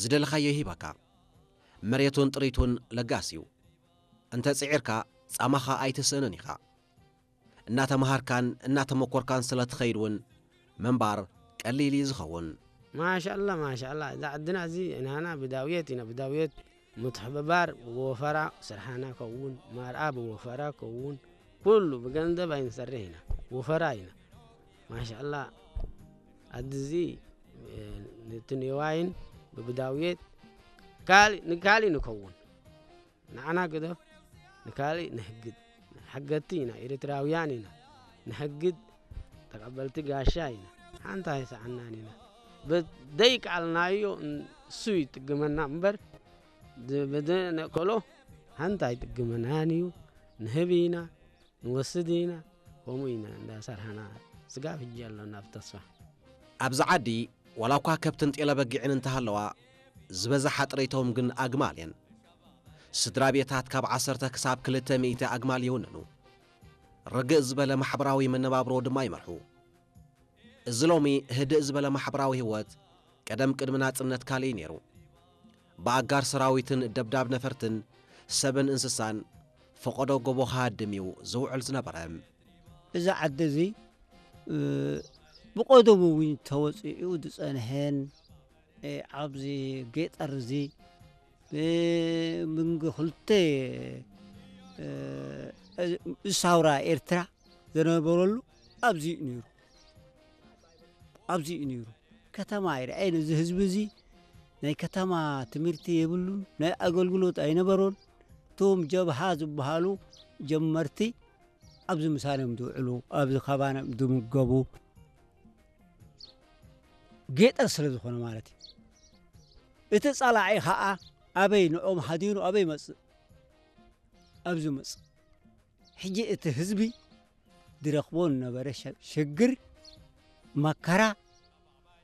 ዝደለኻዮ ይህበካ። መሬቱን ጥሪቱን ለጋስ እዩ። እንተ ጽዒርካ ጻማኻ ኣይትስእንን ኢኻ። እናተምሃርካን እናተመኮርካን ስለ ትኸይድ እውን ምንባር ቀሊል እዩ ዝኸውን። ማሻላ ማሻላ፣ እዛ ዓድና እዚ ናና ብዳውየት ኢና፣ ብዳውየት ምትሕብባር ብወፈራ ስርሓና ከውን፣ ማርኣ ብወፈራ ከውን፣ ኩሉ ብገንዘብ ኣይንሰርሕ ኢና፣ ወፈራ ኢና። ማሻላ፣ ዓዲ እዚ ነቲ ኔዋይን ብብዳውየት ንካሊእ ንከውን። ንዓና ግደፍ፣ ንካሊእ ንሕግድ። ሓገድቲ ኢና፣ ኤርትራውያን ኢና። ንሕግድ፣ ተቐበልቲ ጋሻ ኢና። ሓንቲ ኣይሰዓናን ኢና። ብደይቃልናዮ እሱ ይጥግመና እምበር፣ ብዘነእከሎ ሓንቲ ኣይጥግመናን እዩ። ንህብ ኢና፣ ንወስድ ኢና፣ ከምኡ ኢና እንዳሰርሓና። ስጋብ ሕጂ ኣሎና ብተስፋ። ኣብዚ ዓዲ ዋላ እኳ ከብትን ጤለ በጊዕን እንተሃለዋ፣ ዝበዝሓ ጥሪቶም ግን ኣግማል እየን። ስድራ ቤታት ካብ ዓሰርተ ክሳብ ክልተ ሚእቲ ኣግማል ይውንኑ። ርግእ ዝበለ ማሕበራዊ መነባብሮ ድማ ይመርሑ። እዚ ሎሚ ህድእ ዝበለ ማሕበራዊ ህይወት ቀደም ቅድሚ ናጽነት ካልእ እዩ ነይሩ። ብኣጋር ሰራዊትን ደብዳብ ነፈርትን ሰብን እንስሳን ፈቐዶ ጎቦ ክሃድም እዩ ዝውዕል ዝነበረ። እዚ ዓዲ እዚ፣ እ፣ ብቐደሙ እውን ተወጺኡ ዝጸንሐን፣ እ፣ ኣብዚ ገጠር እዚ፣ እ፣ ምንጊ ክልተ፣ እ፣ እ፣ ሳውራ ኤርትራ ዝነበረሉ ኣብዚ እዩ ነይሩ። ኣብዚ እዩ ነይሩ። ከተማ ኣይረኣየን። እዚ ህዝቢ እዚ ናይ ከተማ ትምህርቲ የብሉን፣ ናይ ኣገልግሎት ኣይነበሮን። እቶም ጀብሃ ዝበሃሉ ጀመርቲ ኣብዚ ምሳና እዮም ዝውዕሉ፣ ኣብዚ ካባና እዮም ዝምገቡ። ገጠር ስለ ዝኾነ ማለት እዩ። እቲ ጸላኢ ኸኣ ኣበይ ንኦም ሃዲኑ ኣበይ ይመጽእ? ኣብዚ ይመጽእ። ሕጂ እቲ ህዝቢ ዝረኽቦ ዝነበረ ሸ-፣ ሽግር፣ መከራ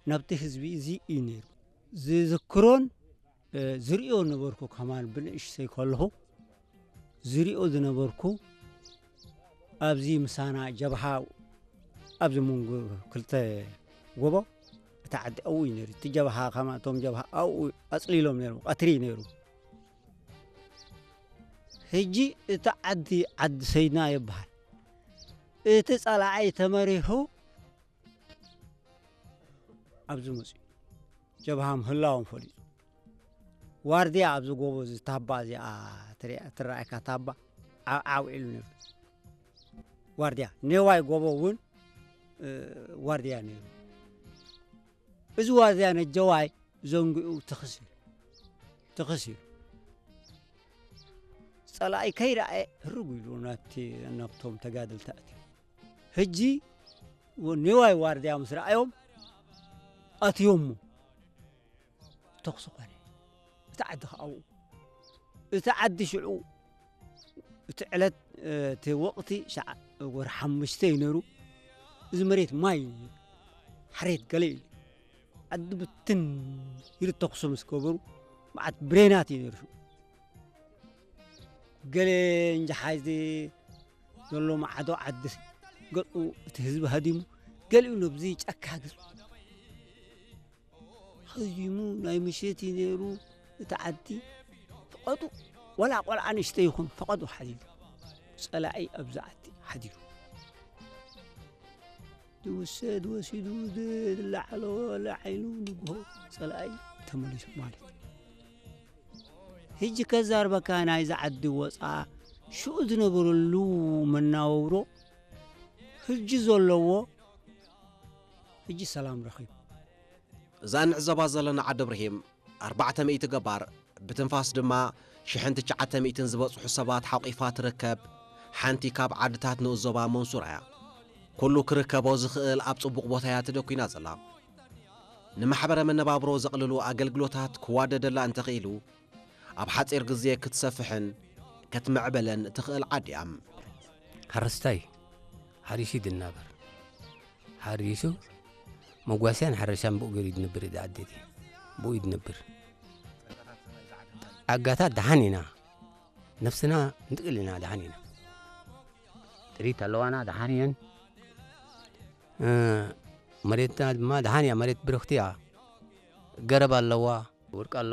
ናብቲ ህዝቢ እዚ እዩ ነይሩ። ዝዝክሮን፣ እ፣ ዝርእዮ ነበርኩ፣ ከማን ብንእሽተይ ከለኹ ዝርእዮ ዝነበርኩ፣ ኣብዚ ምሳና ጀብሃ፣ ኣብዚ መንጎ ክልተ ጎቦ፣ እቲ ዓዲ ኣብኡ እዩ ነይሩ። እቲ ጀብሃ፣ ከማ እቶም ጀብሃ ኣብኡ ኣጽሊሎም ነይሮም፣ ቀትሪ እዩ ነይሩ። ሕጂ እቲ ዓዲ፣ ዓዲ ሰይድና ይበሃል። እቲ ጸላኣይ ተመሪሑ ኣብዚ መጺኡ፣ ጀብሃ ምህላዎም ፈሊጡ። ዋርድያ ኣብዚ ጎቦ እዚ፣ ታባ እዚኣ ትርኣ-፣ ትረኣየካ ታባ፣ ዓው ዓው ኢሉ ነይሩ። ዋርድያ፣ ኔዋይ ጎቦ እውን፣ እ፣ ዋርድያ ነይሩ። እዚ ዋርድያ ነጀዋይ ዘንጊኡ ትኽስ ኢሉ፣ ትኽስ ኢሉ። ጸላኢ ከይረኣየ ህርግ ኢሉ ናብቲ፣ ናብቶም ተጋደልቲ ኣትዩ። ሕጂ ወ-፣ ኔዋይ ዋርድያ ምስ ረኣዮም ኣትዮሞ ተኹሲ ኾነ። እቲ ዓዲ ኸኣ ኣብኡ፣ እቲ ዓዲ ሽዑ፣ እቲ ዕለት፣ እ፣ እቲ ወቕቲ ሸዓ-፣ ወርሒ ሓሙሽተ እዩ ነይሩ። እዚ መሬት ማይ እዩ ነይሩ። ሓሬት ገለ እዩ። ዓዲ ብትን ኢሉ ተኹሲ ምስ ገበሩ፣ መዓት ብሬናት እዩ ነይሩ ሽዑ። ገለ እንጃ ሓዚ ዘሎ ማዕዶ ዓዲ ገጹ እቲ ህዝቢ ሃዲሙ፣ ገሊኡ ነብዚ ጫካ ገጹ ሃዲሙ፣ ናይ ምሸት እዩ ነይሩ። እቲ ዓዲ ፈቐዱ፣ ወላ ቆልዓ ንእሽተይ ይኹን ፈቐዱ ሓዲሩ። ጸላኢ ኣብዚ ዓዲ ሓዲሩ። ዝውሰድ ወሲዱ፣ ዝለዓሎ ለዓይኑ፣ ንግሆ ጸላኢ ተመሊሱ ማለት እዩ። ሕጂ ከዛርበካ ናይዚ ዓዲ ወፃ ሽኡ ዝነበረሉ መናውሮ፣ ሕጂ ዘለዎ፣ ሕጂ ሰላም ረኺቡ። እዛ እንዕዘባ ዘለና ዓዲ እብርሂም ኣርባዕተ ሚእቲ ገባር፣ ብትንፋስ ድማ ሽሕን ትሽዓተ ሚእትን ዝበጽሑ ሰባት ሓቂፋ ትርከብ ሓንቲ ካብ ዓድታት ንኡስ ዞባ መንሱራ እያ። ኩሉ ክርከቦ ዝኽእል ኣብ ጽቡቕ ቦታ እያ ተደኲና ዘላ። ንማሕበረ መነባብሮ ዘቕልሉ ኣገልግሎታት ክዋደደላ እንተኽኢሉ፣ ኣብ ሓጺር ግዜ ክትሰፍሕን ክትምዕብልን ትኽእል ዓዲ እያ። ሓረስታይ ሓሪሱ እዩ ዝናበር። ሓሪሱ መጓስያን ሓረሻን ብኡ ገይሩ እዩ ዝነብር። እዚ ዓዲ እዚ ብኡ እዩ ዝነብር። ጸጋታት ደሓን ኢና፣ ነፍስና ንጥቅል ኢና፣ ደሓን ኢና። ጥሪት ኣለዋና፣ ደሓን እየን። እ፣ መሬትና ድማ ደሓን እያ፣ መሬት ብርኽቲ እያ። ገረብ ኣለዋ፣ ወርቂ ኣለዋ።